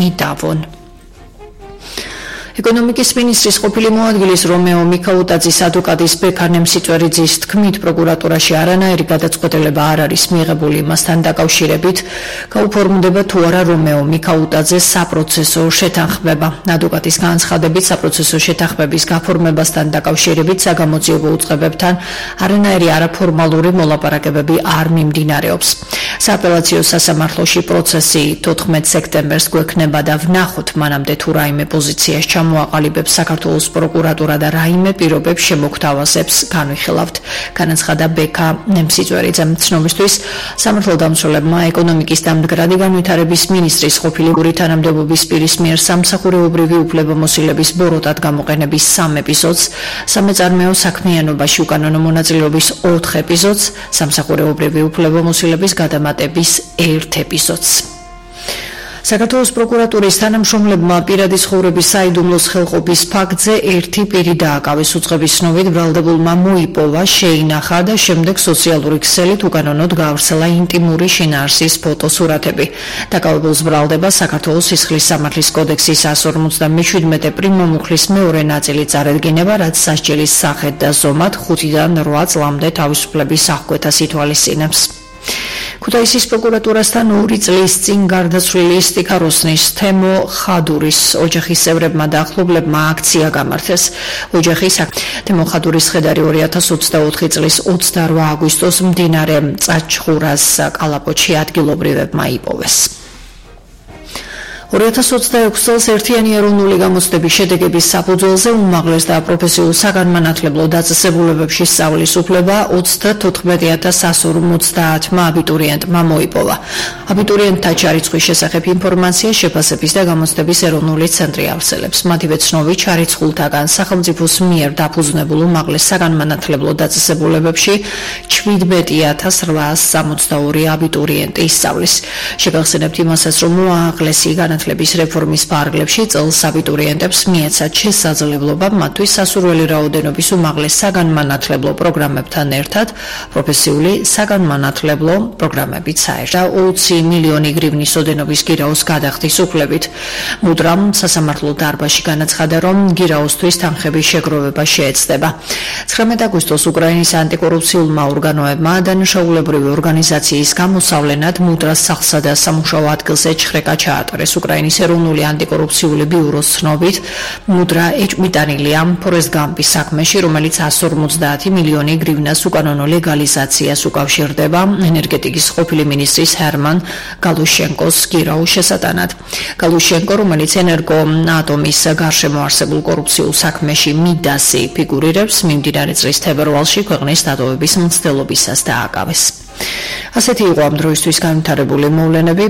იდავონ. ეკონომიკის მინისტრის ყოფილი მოადგილის რომეო მიქაუტაძის ადვოკატის ბექა ნემსიწვერიძის თქმით, პროკურატურაში არანაირი გადაწყვეტილება არ არის მიღებული იმასთან დაკავშირებით, გაუფორმდება თუ არა რომეო მიქაუტაძეს საპროცესო შეთანხმება. ადვოკატის განცხადებით, საპროცესო შეთანხმების გაფორმებასთან დაკავშირებით საგამოძიებო უწყებებთან არანაირი არაფორმალური მოლაპარაკებები არ მიმდინარეობს. სააპელაციო სასამართლოში პროცესი 14 სექტემბერს გვექნება და ვნახოთ მანამდე თუ რაიმე პოზიციას მოაყალიბებს საქართველოს პროკურატურა და რაიმე პირობებს შემოგთავაზებს განვიხილავთ, განაცხადა ბექა ნემსიწვერიძემ. ცნობისთვის სამართალდამცველებმა ეკონომიკის და მდგრადი განვითარების მინისტრის ყოფილი თანამდებობის პირის მიერ სამსახურეობრივი უფლებამოსილების ბოროტად გამოყენების 3 ეპიზოდს, სამეწარმეო საქმიანობაში უკანონო მონაწილეობის 4 ეპიზოდს, სამსახურეობრივი უფლებამოსილების გადამატების 1 ეპიზოდს. საქართველოს პროკურატურის თანამშრომლებმა პირადი ცხოვრების საიდუმლოს ხელყოფის ფაქტზე ერთი პირი დააკავეს. უწყების ცნობით ბრალდებულმა მოიპოვა, შეინახა და შემდეგ სოციალური ქსელით უკანონოდ გაავრცელა ინტიმური შინაარსის ფოტოსურათები. დაკავებულს ბრალდება საქართველოს სისხლის სამართლის კოდექსის 157 პრიმომუხლის მეორე ნაწილი წარედგინება, რაც სასჯელის სახედ და ზომად 5-დან 8 წლამდე თავისუფლების აღკვეთას ითვალისწინებს. ქუთაისის პროკურატურასთან 2 წლის წინ გარდაცვლილი სტიქაროსნის თემო ხადურის ოჯახის წევრებმა და ახლობლებმა აქცია გამართეს. ოჯახის თემო ხადურის ხედარი 2024 წლის 28 აგვისტოს მდინარე წაჩხურას კალაპოტში ადგილობრივებმა იპოვეს. 2026 წელს ერთიანი ეროვნული გამოცდების შედეგების საფუძველზე უმაღლეს და პროფესიულ საგანმანათლებლო დაწესებულებებში სწავლის უფლება 34150 აბიტურიენტმა მოიპოვა. აბიტურიენტთა ჩარიცხვის შესახებ ინფორმაცია შეფასების და გამოცდების ეროვნული ცენტრი ავრცელებს. მათივე ცნობით ჩარიცხულთაგან სახელმწიფოს მიერ დაფუძნებულ უმაღლეს საგანმანათლებლო დაწესებულებებში 17862 აბიტურიენტი ისწავლის. შეგახსენებთ იმასაც, რომ უმაღლესი განათლების რეფორმის ფარგლებში წელს აბიტურიენტებს მიეცათ შესაძლებლობა მათთვის სასურველი რაოდენობის უმაღლეს საგანმანათლებლო პროგრამებთან ერთად პროფესიული საგანმანათლებლო პროგრამებით საერთო 20 მილიონი გრივნის ოდენობის გირაოს გადახდის უფლებით. მუდრამ სასამართლო დარბაზში განაცხადა, რომ გირაოსთვის თანხების შეგროვება შეეცდება. 19 აგვისტოს უკრაინის ანტიკორუფციულმა ორგანოებმა დანაშაულებრივი ორგანიზაციის გამოსავლენად მუდრას სახლსა და სამუშაო ადგილზე ჩხრეკა ჩაატარეს. უკრაინის ეროვნული ანტიკორუფციული ბიუროს ცნობით, მუდრა ეჭვმიტანილია ფორესტ გამპის საქმეში, რომელიც 150 მილიონი გრივნას უკანონო ლეგალიზაციას უკავშირდება ენერგეტიკის ყოფილი მინისტრის ჰერმან გალუშენკოს გირაოს შესატანად. გალუშენკო, რომელიც ენერგოატომის გარშემო არსებულ კორუფციულ საქმეში მიდასი ფიგურირებს, მიმდინარე წლის თებერვალში ქვეყნის დატოვების მცდელობისას დააკავეს. ასეთი იყო ამ დროისთვის განვითარებული მოვლენები.